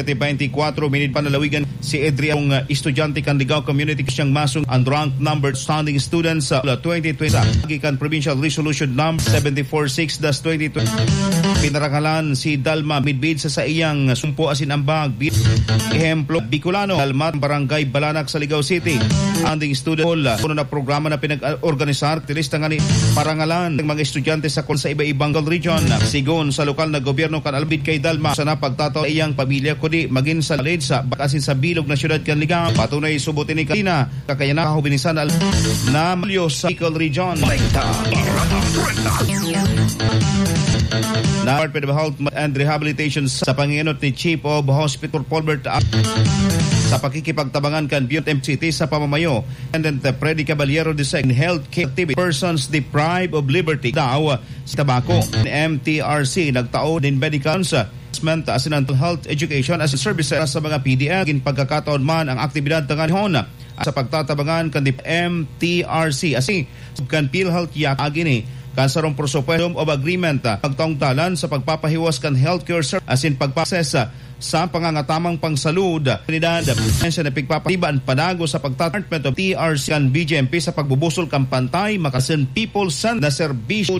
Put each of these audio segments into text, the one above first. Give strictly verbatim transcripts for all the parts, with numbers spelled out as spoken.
Twenty-four minute panalawigan si Adrian, uh, estudyante kan Ligao Community, siyang masong ang rank number standing students sa twenty twenty sa gikan provincial resolution number seven four six dash twenty twenty. Pinarangalan si Dalma Midbid sa saiyang sumpo asin ambag. Bi-, ehemplo, Bicolano, Dalma, Barangay Balanak sa Ligao City. Anding student hall, uh, puno na programa na pinag-organisar, tilis na nga ni parangalan ng mga estudyante sa kol sa iba-ibang region. Sigon sa lokal na gobyerno kan Albit kay Dalma, sana pagtataw iyang pamilya, kundi magin sa lalid sa bakasin sa bilog na syudad kan Ligao. Patunay subot ini kanina, kakayan na kahubinisan al-, na Mulyo sa Bicol Region. Na Department of Health and Rehabilitation sa panginot ni Chief of Hospital Paulbert A-, sa pakikipagtabangan kan Biyot M C T sa pamamayo and then the Freddy Caballero the second health care activity persons deprived of liberty daw sa tabako. M T R C nagtao din medical assessment asin ang health education as services sa mga P D L. Gin pagkakataon man ang aktibidad tanganihon sa pagtatabangan kan M T R C asin kan PhilHealth yak agi ni kan sarong presupuesto of agreement, ah, pagtaong dalan sa pagpapahiwas kan healthcare service asin pagpases, ah, sa pangangatamang pangsalud. Unidad, siya na pigpapatiba an panago sa pagtatartment of T R C kan B J M P sa pagbubusol kan pantay, makasin people san na serbisyo.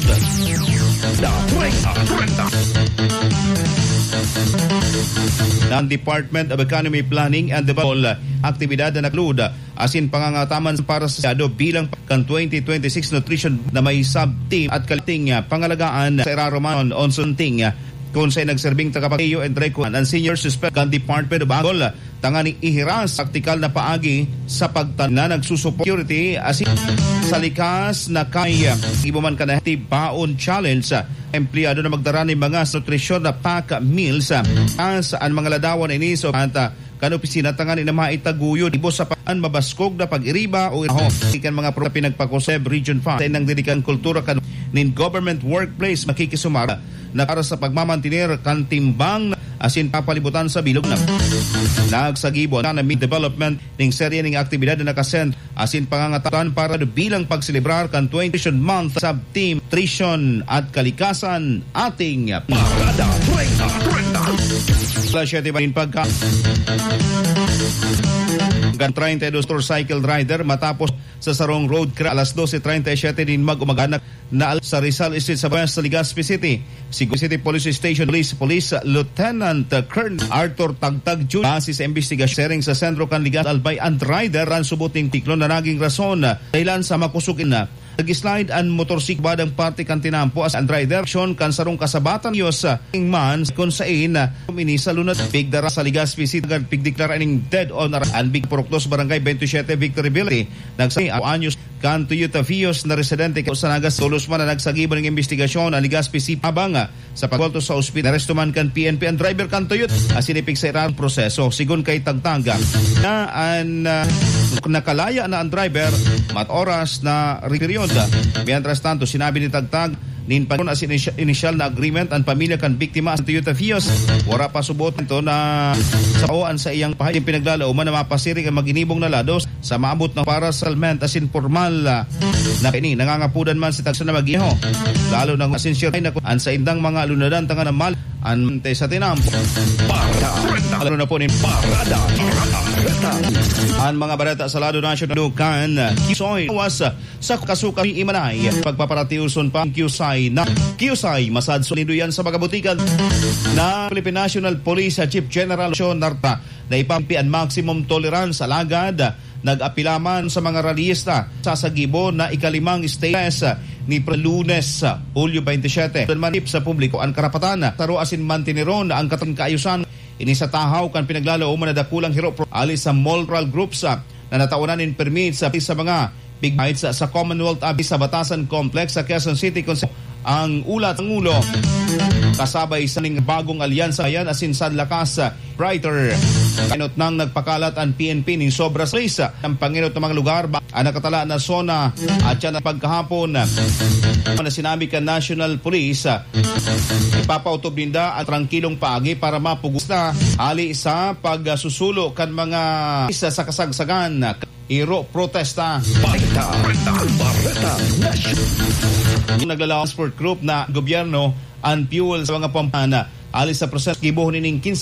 Ng Department of Economy, Planning and Development, aktibidad na nagluda asin pangangataman para sa Senado bilang kan twenty twenty-six nutrition na may sub-team at kalating, ah, pangalagaan sa iraruman on sunting, ah, kung sa'y nagserbing tagapag-iyo and record ang senior suspect kan Department of Agol, tanganing ihiras praktikal na paagi sa pagtan na nagsusupo security asin sa likas na kaya ibo man kan active baon challenge, ah, empleyado na magdara nin mga nutrisyon na pack meals, ah, as an mga ladawan ini so at, ah, kan opisina tanganing na maitaguyod ibo sa pa-, an mabaskog na pag-iriba o iraho. Ikan mga pro-, pinagpakuseb Region five sa inang dedikang kultura kan nin government workplace makikisumar na para sa pagmamantener kan timbang asin papalibutan sa bilog na nagsagibo na may development ning serye ning aktibidad na nakasend asin pangangatakan para bilang pagselebrar kan twenty Nutrition Month sa Team Nutrition at Kalikasan, ating Parada treinta treinta. Alas siyete pa rin pagka-, hanggang treinta y dos motorcycle rider matapos sa sarong road crash alas dose treinta y siete nin mag-umaga na, na sa Rizal Street sa West Legazpi City. Si City Police Station Police, Police Lieutenant Colonel Arthur Tagtag Junior, base sa investigasyon, sharing sa sentro kan Legazpi Albay and rider, ang subot ning tiklo na naging rason, dahilan sa makusog na nag-slide an motorsiklo, badang parte kan tinampo as an driver, aksyon kan sarong kasabatan, Diyos, ah, ing man, kun sain, ah, ini sa lunad, pigdara sa Legazpi City, agad pigdeklara ning dead on ar-, an big purukdos, Barangay twenty-seven, Victory Village, nagsa-, anyos, kan Toyota Vios na residente sa Nagas, tulos man na nagsagibo ning investigasyon an Legazpi City, habang, ah, sa pagwalto sa ospital, naresto man kan P N P an driver kan Toyota asin ipigsa irang proseso. Sigon kay Tagtag, na an, ah, nakalaya na an driver, mat oras na period. Mientras tanto, sinabi ni Tagtag, nin pag-, as inisya-, inisyal na agreement an pamilya kan biktima sa Toyota Vios. Wara pa subot ito na sa o an sa iyang pahay, yung pinaglalaoman na mapasiring ang mag-inibong na lados sa maabot na para sa settlement asin pormal, ah, na ini. Nangangapudan man si Tagsa na mag-iho. Lalo nang asin siya na an saindang mga lunadan tanga na mal an te sa tinampo. Parada. Lalo na po ni Parada. An mga bareta sa lado nasyonal kan Kisoy was sa kasuka ni Imanay. Pagpaparatiuson pa ang kiusay na kiusay masad sulido yan sa mga butikan na Philippine National Police Chief General Leon Narta na ipampi ang maximum tolerance, alagad nag-apila man sa mga rallyista sa sagibo na ikalimang state ni Pre-, Lunes, Hulyo twenty-seven. Doon man sa publiko ang karapatan, taro asin mantineron ang katang kaayusan. Ini sa tahaw kan pinaglalaoman na dakulang hiro pro-, ali sa multicultural groups, ah, na natawanan nin permit sa, sa mga big fights sa, sa Commonwealth abi sa Batasan Complex sa Quezon City, kung sa ang ulat ng ulo. Kasabay sa ning bagong alyansa yan, asin sa lakas, ah, brighter. Inot nang nagpakalat ang P N P nin sobra sa isa ang panginot ng mga lugar ba, ang nakatala na zona at siya na pagkahapon. Ano na sinabi ka National Police, ah, ipapautob ninda ang trangkilong paagi para mapugos na hali sa pagsusulo kan mga isa sa kasagsagan. Iro protesta. Bareta, bareta, bareta, nasyon. Naglalawan sport group na gobyerno ang fuel sa mga pampana. Alis sa proseso, gibohon nining quince